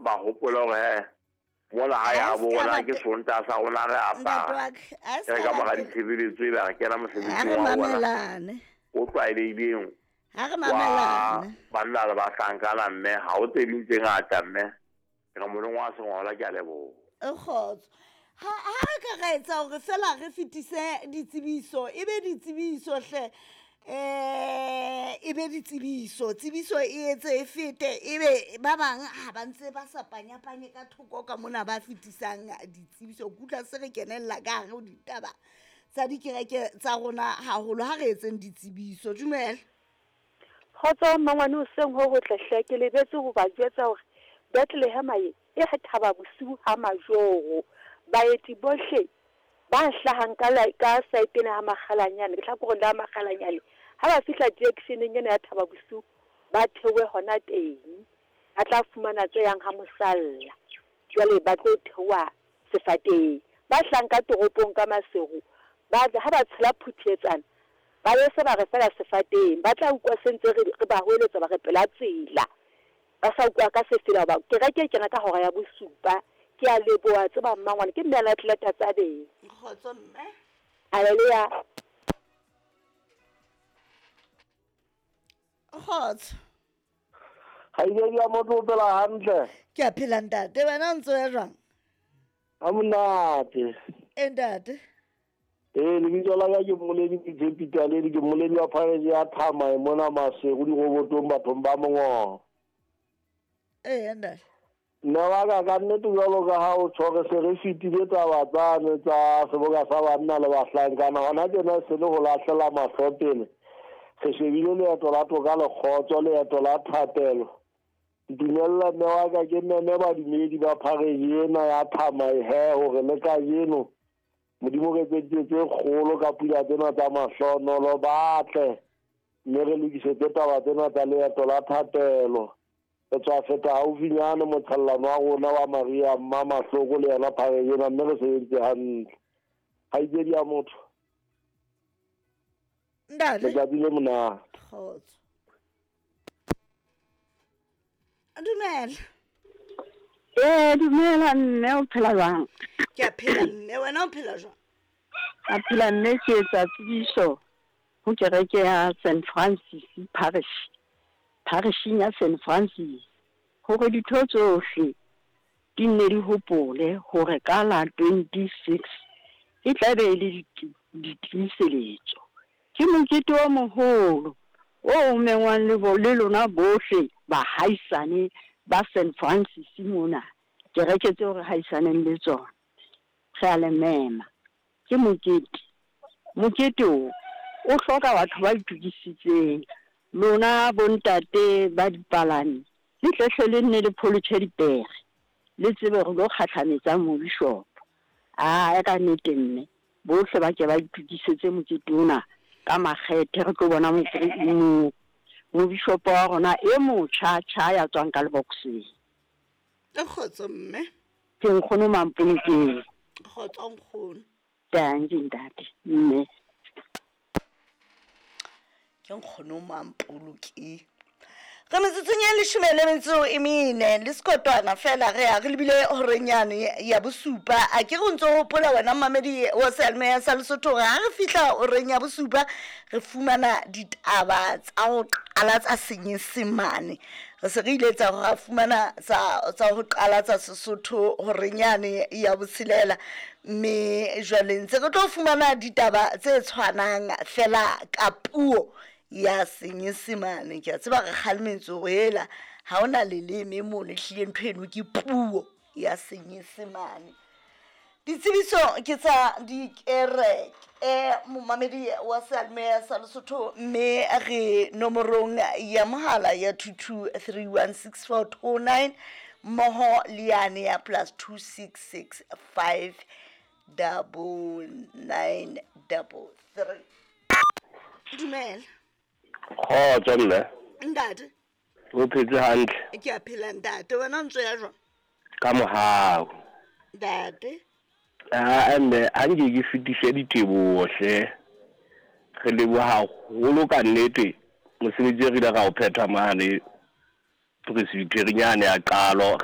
ba hopola hore he mona hae Ha ha se bo ka rona ba ke te- Sontaha sa rona re Ntate apara. wa ka, a E se re ka ka ba mora tela. ditshebeletso ebe re kena Ha mosebetsing re wa rona mamelane. o tlwaelehileng Ha re wa mamelane. banna le bahlankana mme ha ho tse ding tse ngata mme. Ke re moleng wa sengola ke a leboha. E kgotso. Ha ha re ka ra etsa hore fela re fetise ditsebiso, e be ditsebiso hle. E be ditsebiso, tsebiso e etse e fete ebe ba bang ha ba ntse ba sa panyapanye ka thoko ka mona ba fetisang ditsebiso. Ke utlwa se re kenella ka hare ho ditaba tsa dikereke tsa rona haholo. Ha re etseng ditsebiso. Dumela. Kgotso mmangwane hoseng ho hotle hle, ke lebetse ho ba jwetsa hore Bethlehem e e thaba bosiu ha majoro. Baeti bohle ba hlahang ka la, ka saeteng ha Makgalanyane, lehlakoreng la Makgalanyane, ha ba fihla junction-eng ena ya Thaba Bosiu, ba theohe hona teng. Ba tla fumana tse yang ha mosalla. Jwale ba tlo theoha sefateng. Ba hlahang ka toropong ka Maseru, ba ha ba tshela Phuthiatsana, ba be se ba re fela sefateng. Ba tla utlwa se ntse re ba hoeletsa ba re pela tsela. Ba sa utlwa ka sefela hoba kereke e kena ka hora ya bosupa. Ke a leboha tseba mmangwane, ke mme a Atleta Tsabeng. Kgotso mme. Hallelujah. Kgotso. Kgaitsedi ya motho o phela hantle. Ke a phela ntate, wena o ntso ya jwang? Ha monate. E ntate. Ee, lebitso la ka ke Mmoledi Tshepi Taledi, ke mmoledi wa phareje ya Thamae mona Maseru dirobotong bathong ba Mongobo. Ee ntate. Mme wa ka ka nnete jwalo ka ha o tjho re se re fetile taba tsane tsa seboka sa banna le bahlankana, hona tjena e se le ho lahlela mahlo pele. Re shebile leeto la toka le kgotso, leeto la thapelo. Ntumella mme wa ka ke meme badumedi ba phareje ena ya Thamae he hore le kajeno Modimo re etseditse tse kgolo ka pula tsena tsa mahlonolo, ba tle mme re lokisetse taba tsena tsa leeto la thapelo. Re tswa feta haufinyane motshellano wa rona wa Maria Mma Mahloko le yona phareje ena, mme re sebeditse hantle. Kgaitsedi ya motho. Ntate. Letsatsi le monate. Kgotso. Dumela. Ee, dumela mme, o phela jwang? Ke a phela mme, wena o phela jwang? A phela mme, ke etsa tsebiso ho kereke ya St Francis Parish, parishing ya St Francis, hore ditho tsohle di nne di hopole hore ka la 26 e tla be e le ditiiseletso. Ke mokete o moholo o mengwang le bo, le lona bohle bahaisane ba St Francis mona, kereke tseo re haisaneng le tsona, re a le mema. Ke mokete. Mokete o o hloka batho ba itokisitseng. Lona bontate ba dipalami, le tle hle le nne le pholotjhe dipere, le tsebe hore lo kgahlametsa mobishopo. Aa, ka nnete mme, bohle ba ke ba itokisetse mokete ona ka makgethe, re tlo bona mobishopo wa rona e motjha tjha ya tswang ka lebokseng. E kgotso mme. Ke nkgono Mampolokeng. Kgotso nkgono. Dankie ntate, mme. Ke nkgono Mampolokeng. Re metsotsong e leshome le metso e mene le sekotwana fela re ya re lebile horeng yane ya bosupa. A ke re o ntso hopola wena mmamedi wa seyalemoya sa Lesotho hore ha re fihla horeng ya bosupa re fumana ditaba tsa ho qala tsa Senyesemane. Re se re ile tsa ra fumana tsa ho qala tsa Sesotho horeng yane ya botshelela, mme jwale ntse re tlo fumana ditaba tse tshwanang fela ka puo ya Senyesemane. Ke a tseba re kgalemetswe hore hela ha hona leleme mono, ehlile ntho eno ke puo ya Senyesemane. Ditsebiso ke tsa dikereke momamedi wa seyalemoya sa Lesotho, mme re nomorong ya mohala ya 22316429 mmoho le yane ya plus 266599933. Dumela. Kgotso mme. Ntate. O phetse hantle? Ke a phela ntate, wena o ntso ya jwang? Ka mohau. Ntate. Ah, mme ha nke ke fetise diteboho hle. Re leboha haholo ka nnete mosebetsi e re ile ra o phetha mane presbyterian ya qalo. Re